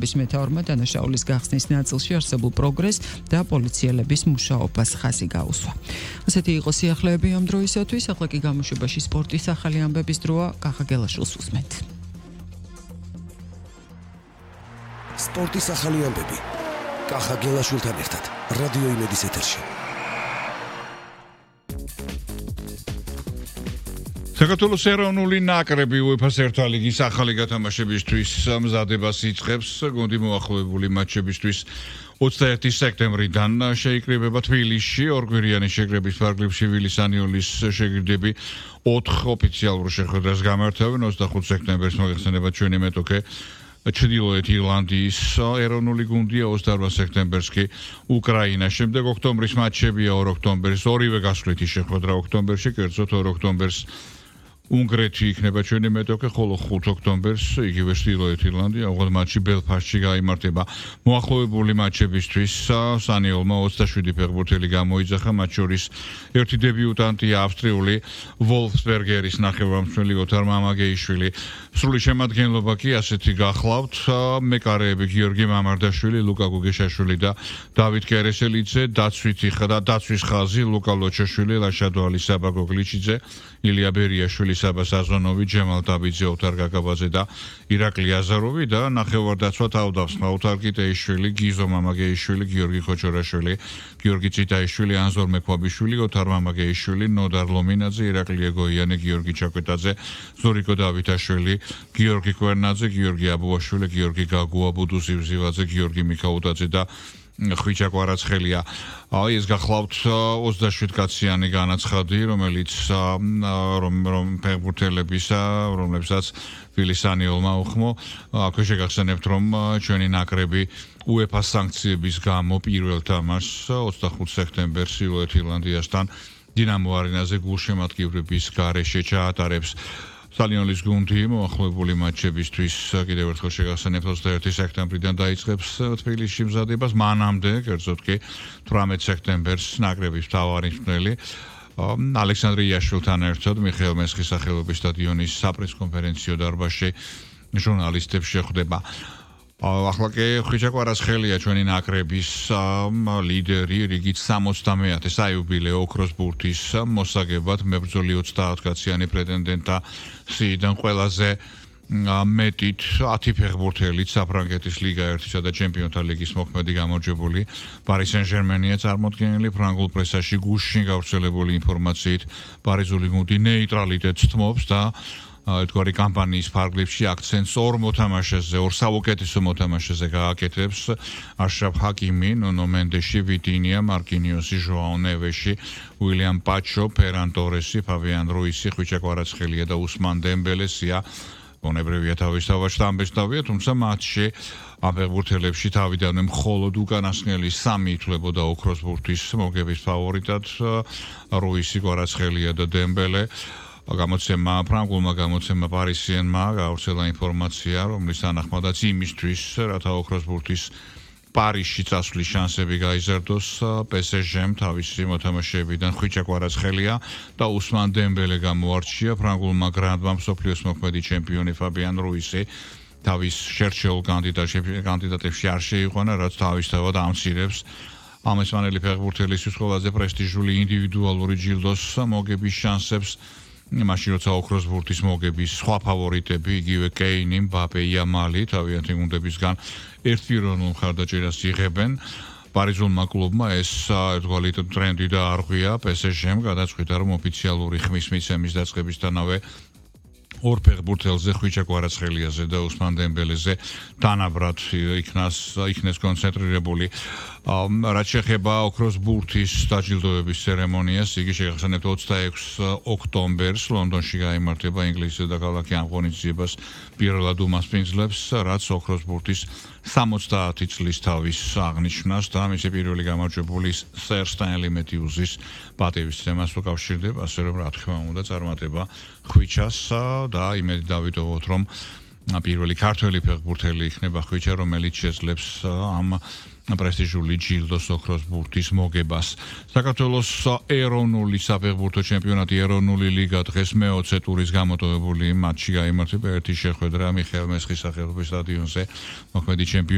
მეთაურმა დანაშაულის გახსნის ნაწილში არსებულ პროგრესს და პოლიციელების მუშაობას ხაზი გაუსვა. ასეთი იყო სიახლეები ამ დროისათვის, ახლა კი გამოშვებაში სპორტის ახალი ამბების დროა. კახა გელაშვილს უსმენთ. სპორტის ახალი ამბები. კახა გელაშვილთან ერთად რადიო იმედის ეთერში. საქართველოს ეროვნული ნაკრები UEFA-ს ერთა ლიგის ახალი გათამაშებისთვის მზადებას იწყებს. გუნდი მოახლოებული მატჩებისთვის 21 სექტემბრიდან შეიკრიბება თბილისში. ორგვირიანი შეკრების ფარგლებში ვილისანიოლის შეგირდები 4 ოფიციალურ შეხვედრას გამართავენ. 25 სექტემბერს მოიხსენება ჩვენი მეტოქე ჩრდილოეთ ირლანდიის ეროვნული გუნდია, 28 სექტემბერს კი უკრაინა. შემდეგ ოქტომბრის მატჩებია 2 ოქტომბერს ორივე გასვლითი შეხვედრა ოქტომბერში, კერძოდ 2 ოქტომბერს უნგრეთი იქნება ჩვენი მეტოქე, ხოლო 5 ოქტომბერს იგივე ჩრდილოეთ ირლანდია, ოღონდ მატჩი ბელფასტში გაიმართება. მოახლოებული მატჩებისთვის სანიოლმა 27 ფეხბურთელი გამოიძახა, მათ შორის ერთი დებიუტანტია ავსტრიული ვოლფსბერგერის ნახევარმცველი ოთარ მამაგეიშვილი. სრული შემადგენლობა კი ასეთი გახლავთ: მეკარეები გიორგი მამარდაშვილი, ლუკა გუგეშაშვილი და დავით კერესელიძე, დაცვის ხაზი ლუკა ლოჩაშვილი, ლაშადო ალისაბა გოგლიჩიძე, ილია ბერიაშვილი, საბა საზონოვი, ჯემალ დაბიძე, ოთარ გაგაბაძე და ირაკლი აზაროვი და ნახევარდაცვა თავდავსმა ოთარ კიტეიშვილი, გიზო მამაგეიშვილი, გიორგი ხოჩორაშვილი, გიორგი ციტაიშვილი, ანზორ მექვაბიშვილი, ოთარ მამაგეიშვილი, ნოდარ ლომინაძე, ირაკლი ეგოიანი, გიორგი ჩაკვეტაძე, ზურიკო დავითაშვილი, გიორგი კვერნაძე, გიორგი აბუაშვილი, გიორგი გაგუა, ბუდუ ზივზივაძე, გიორგი მიქაუტაძე და ხვიჩა კვარაცხელია. ეს გახლავთ 27 კაციანი განაცხადი, რომელიც ფეხბურთელებისა, რომლებსაც ვილისანიოლმა უხმო. აქვე შეგახსენებთ, რომ ჩვენი ნაკრები UEFA სანქციების გამო პირველ თამაშს 25 სექტემბერს ჩრდილოეთ ირლანდიასთან დინამო არენაზე გულშემატკივრების გარეშე ჩაატარებს. სტალიონის გუნდი მოახლოებული მატჩებისთვის კიდევ ერთხელ შეგახსენებთ 21 სექტემბრიდან დაიწყებს თბილისში მზადებას. მანამდე, კერძოდ კი 18 სექტემბერს ნაკრების მთავარი მწვრთნელი ალექსანდრე იაშვილთან ერთად მიხეილ მესხის სახელობის სტადიონის საპრესკონფერენციო დარბაზში ჟურნალისტებს შეხვდება. ახლა კი ხვიჩა კვარაცხელია ჩვენი ნაკრების ლიდერი, რიგით 70-ე საიუბილეო ოქროს ბურთის მოსაგებად მებრძოლი 30 კაციანი პრეტენდენტთა სიიდან ყველაზე მეტით 10 ფეხბურთელით საფრანგეთის ლიგა 1-სა და ჩემპიონთა ლიგის მოქმედი გამარჯვებული პარი სენ-ჟერმენია წარმოდგენილი. ფრანგულ პრესაში გუშინ გავრცელებული ინფორმაციით პარიზული გუნდი ნეიტრალიტეტს თმობს და ერთგვარი კამპანიის ფარგლებში აქცენტს ორ მოთამაშეზე, ორ საუკეთესო მოთამაშეზე გააკეთებს: აშრაფ ჰაკიმი, ნონო მენდეში, ვიტინია, მარკინიოსი, ჟოაო ნევეში, უილიამ პაჩო, ფერან ტორესი, ფაბიან რუისი, ხვიჩა კვარაცხელია და უსმან დემბელესია. ბუნებრივია თავისთავად ამბესტავია, თუმცა მატჩში ამ ფეხბურთელებში თავიდანვე მხოლოდ უკანასკნელი 3 ითვლებოდა ოქროს ბურთის მოგების ფავორიტად: რუისი, კვარაცხელია და დემბელე. ფრანგულმა გამოცემა პარისიენმა გავრცელა ინფორმაცია, რომლის თანახმადაც იმისთვის, რათა ოქროს ბურთის პარიზში წასვლის შანსები გაიზარდოს, PSG-მ თავისი მოთამაშეებიდან ხვიჩა კვარაცხელია და უსმან დემბელე გამოარჩია. ფრანგულმა გრანდმა მსოფლიოს მოქმედი ჩემპიონი ფაბიან რუისი თავის შერჩეულ კანდიდატებში არ შეიყვანა, რაც თავისთავად ამცირებს ამ ესპანელი ფეხბურთელისთვის ყველაზე პრესტიჟული ინდივიდუალური ჯილდოს მოგების შანსებს. მაშინ როცა ოქროს ბურთის მოგების სხვა ფავორიტები, იგივე კეინი, მბაპე, იამალი თავიანთი გუნდებისგან ერთპიროვნულ მხარდაჭერას იღებენ, პარიზულმა კლუბმა ეს ერთგვარი ტრენდი დაარღვია. PSG-მ გადაწყვიტა, რომ ოფიციალური ხმის მიცემის დაწყებისთანავე ორ ფეხბურთელზე, ხვიჩა კვარაცხელიაზე და უსმან დემბელეზე თანაბრად იქნეს კონცენტრირებული. რაც შეეხება ოქროს ბურთის დაჯილდოების ცერემონიას, იგი შეგახსენებთ 26 ოქტომბერს ლონდონში გაიმართება. ინგლისის დედაქალაქი ამ ღონისძიებას პირველად უმასპინძლებს, რაც ოქროს ბურთის 70 წლის თავის აღნიშვნას და მისი პირველი გამარჯვებული სერ სტენლი მეთიუზის პატივისცემას უკავშირდება, ასე რომ რა თქმა უნდა წარმატება ხვიჩას და იმედი დავიტოვოთ, რომ პირველი ქართველი ფეხბურთელი იქნება ხვიჩა, რომელიც შეძლებს ამ პრესტიჟული ჯილდოს ოქროს ბურთის მოგებას. საქართველოს ეროვნული საფეხბურთო ჩემპიონატი, ეროვნული ლიგა დღეს მე-20 ტურის გამოტოვებული მატჩი გაიმართება. ერთი შეხვედრა მიხეილ მესხის სახელობის სტადიონზე მოქმედი ჩემპიონი